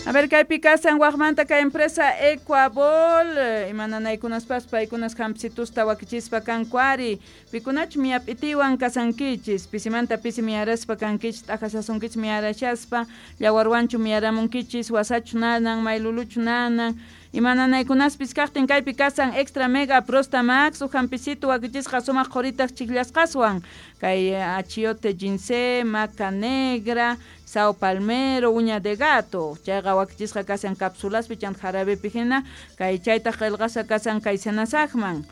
A ver, kaypi kasan wajmanta kay empresa Ecuabol, imananaykunaspas paykunas hampsitusta wakichispa kanku ari, pikunachu miyap'itiwan kasankichis, pisimanta pisi miyaraspa kankichis, t'ajasasunkichis miyarashaspa, llawarwanchu miyaramunkichis, wasachu nanan, mayluluchu nanan, imananaykunaspis kaqtin kaypi kasan Extra Mega Prostamax, uj hampisitu wakichisqa sumaq qhuritaq chikllasqaswan, kay achiote ginseng, maca negra, sao palmero, uña de gato, chayqa wakichisqa kasan cápsulaspi chanta jarabepi hina, kay chaytaq qillqasqa kasan kay senasaqman.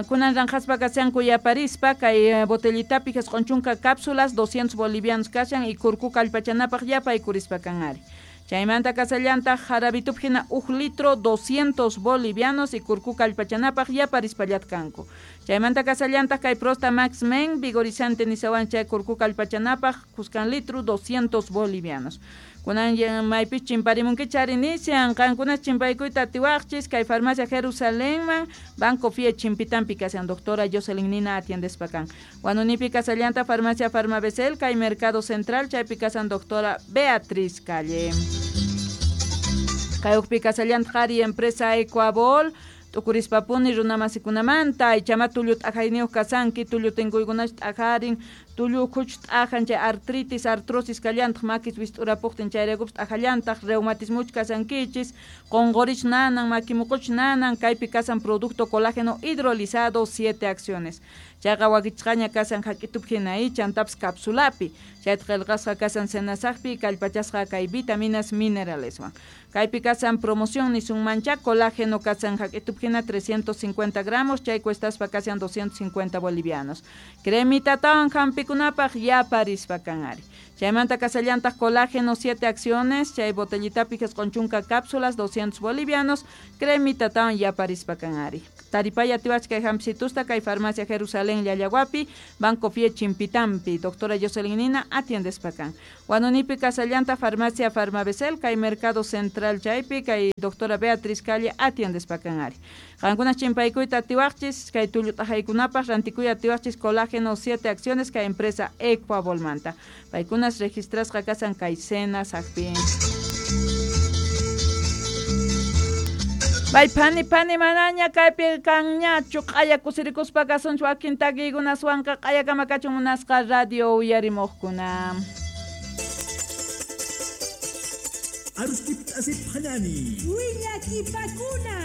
Kunan ranqaspa kashanku yaparispa kay botellitapi jisq'un chunka cápsulas 200 bolivianos kashan y kurku kallpachanapaq yapaykurispa kan ari. Chaymanta kasallantaq jarabitupi hina uj litro 200 bolivianos y kurku kallpachanapaq yaparispallat kanku. Chaymanta kasallantaq kay Prosta Max Men vigorizante nisawan chay kurku kallpachanapaq kuskan litro 200 bolivianos. Kunan maypis chimparimunkichis ari nishan qankunas chimpaykuyta atiwaqchis kay farmacia Jerusalenman Banco Fie chimpitampi kashan doctora Jocelyn Nina atiendespa kan. Wanunipi kasallanta farmacia Farmabesel kay Mercado Central chaypi kasan doctora Beatriz Calle. Kay ukpi kasallanta qhari empresa Ecuabol t'ukurispapuni runamasikunamanta ichama tullu t'ajayniyuq kasanki tullu tinkuykunachu t'ajarin tullu ukhuchu t'ajan chay artritis artrosis kallantaq makis wist'urapuqtin chayraykupis t'ajallantaq reumatismuchu kasankichis qunqurichu nanan makimuquchu nanan kaypi kasan producto colágeno hidrolizado 7 acciones chayqa wakichisqaña kasan hak'itupi hina chantapis cápsulapi chayta qillqasqa kasan senasaqpi kallpachasqa kay vitaminas mineraleswan kaypi kasan promoción nisunmancha colágeno kasan hak'itupi hina 350 gramos chay cuestaspa kasan 250 bolivianos cremitatawan hampikunapaq yaparispa kan ari. Chaymanta kasallantaq colágeno 7 acciones chay botellitapi jisq'un chunka cápsulas 200 bolivianos cremitatawan yaparispa kan ari. Taripaya atiwach kay hampsitusta kay farmacia Jerusalén Llallaguapi Banco Fie Chimpitampi doctora Jocelyn Nina atiendespa kan. Wanunipi kasallanta farmacia Farmabesel kay Mercado Central chaypi kay doctora Beatriz Calle atiendespa kan ari. Qankunas chimpaykuyta atiwaqchis kay tullu t'ajaykunapaq rantikuy atiwaqchis colágeno 7 acciones kay empresa Ecuabolmanta. Paykunas registrasqa kasan kay Senasaqpi. Bay pani pani manaña kaypi kanñachu q'aya kusirikuspa kasunchu wakin takiykunaswanqa q'ayakama kachun munasqa radio uyarimuqkuna. Aruskip asip hanani. Wiñakipakuna.